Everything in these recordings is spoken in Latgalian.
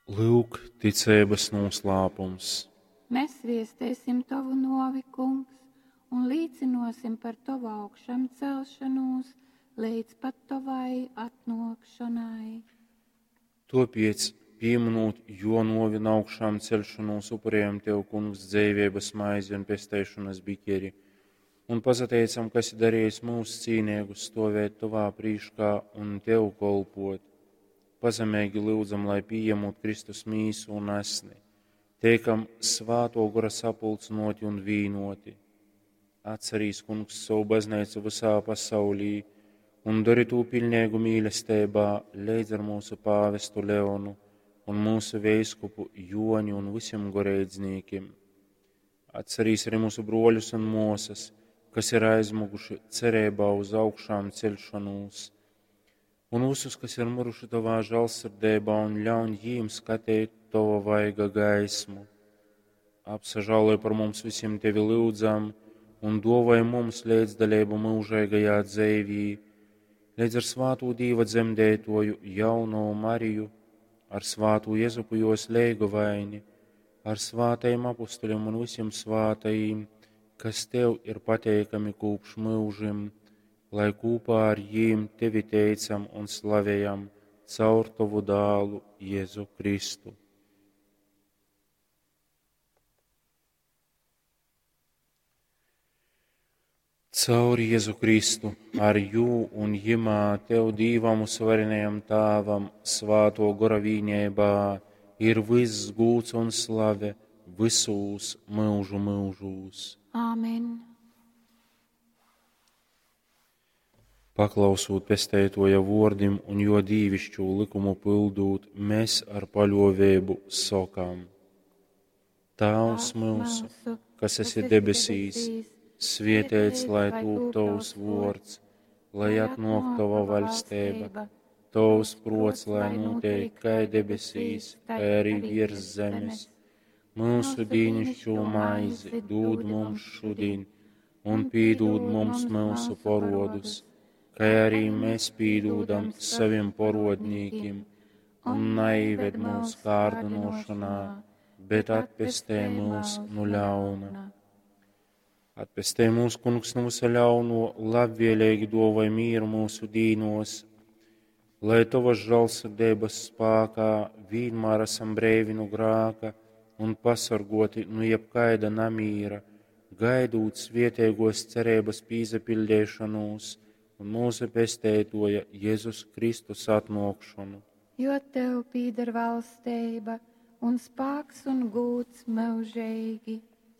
Lyuk, ticeibys nūslāpums. Mēs viestēsim tovu nuovi, Kungs, un līcynuosim par tovu augšamcelšanūs leidz pat tovai atnuokšonai. Tuopiec, pīmynūt juo nuovi un augšāmceļšonūs, upurējam Tev, Kungs, dzeiveibys maizi un pesteišonys bikeri, un pasateicam, ka esi darejis myus cīneigus stuovēt Tovā prīškā un Tev kolpuot. Pazemeigi lyudzam, lai pījemūt Kristus mīsu un asni, teikam Svātuo Gora sapulcynuoti un vīnuoti. Atcerīs, Kungs, sovu bazneicu vysā pasaulī un dori tū piļneigu mīlesteibā leidz ar mūsu pāvestu Leonu un mūsu veiskupu Joni un vysim goreidznīkim. Atcerīs arī mūsu bruoļus un muosys, kas ir aizmuguši cereibā uz augšām ceļšanūs, un visus, kas ir miruši Tovā žālsirdeibā, un ļauņ jīm skateit Tova vaiga gaismu. Apsažāloj par mums visiem Tevi lyudzam, un duovoj mums leidzdaleibu myužeigajā dzeivī, leidz ar svātū Dīva dzemdeituoju jaunovu Mariju, ar svātū Jezupu juos leigovaini, ar svātajim apustuļiem un visiem svātajim, kas Tev ir pateikami kopš myužim, lai kopā ar jīm Tevi teicam un slavējam caur Tovu dālu Jēzu Kristu. Caur Jēzu Kristu, ar jū un jimā Tev Dīvam uzvarenajam Tāvam, Svāto Gora vīnībā, ir viss gūds un slave visūs myužu myužūs. Āmen. Paklausūt pesteitoja vuordim un juo dīvišķū lykumu pyldūt, mēs ar paļuoveibu sokam: Tāvs myusu, kas esi debesīs, svietēts lai tūp tovs vuords, lai atnuok tova vaļsteiba, tovs pruots lai nūteik kai debesīs, tai arī viers zemes. Myusu dīnišķū maizi dūd mums šodien, un pīdūd mums myusu porodus, kai arī mēs pīdūdam savim porodnīkim, un naīved mūs kārdinošanā, bet atpestē mūs nu ļauna. Atpestē mūs, Kungs, no visa ļauno, labvēlīgi dovoj mīru mūsu dīnos, lai Tavas žālsirdības spākā vienmēr esam breivi no grāka un pasargoti no jebkaida namīra, gaidūt svietēgos cerības pīzapildēšanos un mūsu pesteitoja Jēzus Kristus atnākšanu. Jo tev pīder valsteiba un spāks un gūds mūžīgi.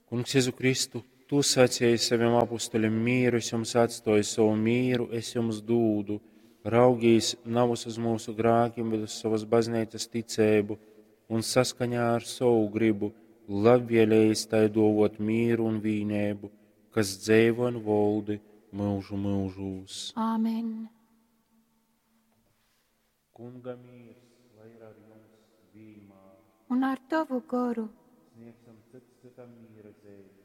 Kungs Jēzu Kristu, Tu sacīji saviem apustuļiem mīru, es jums atstoju savu mīru, es jums dūdu. Raugīs navus uz mūsu grākiem, bet uz savas baznīcas ticēbu un saskaņā ar savu gribu labvēlējis tai dovot mīru un vīnēbu, kas dzeivo un voldi myužu myužūs. Āmen. Kunga mīrs, lai ir ar jums vienmēr. Un ar tavu goru. Sniegsim cits citam mīra dzīvi.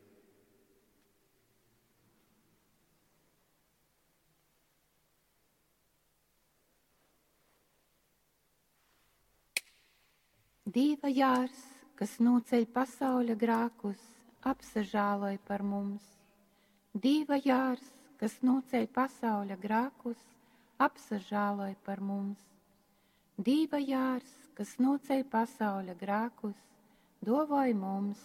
Dīva jārs, kas nūceļ pasauļa grākus, apsažāloj par mums. Dīva jārs, kas nūceļ pasauļa grākus, apsažāloj par mums. Dīva jārs, kas nūceļ pasauļa grākus, dovoj mums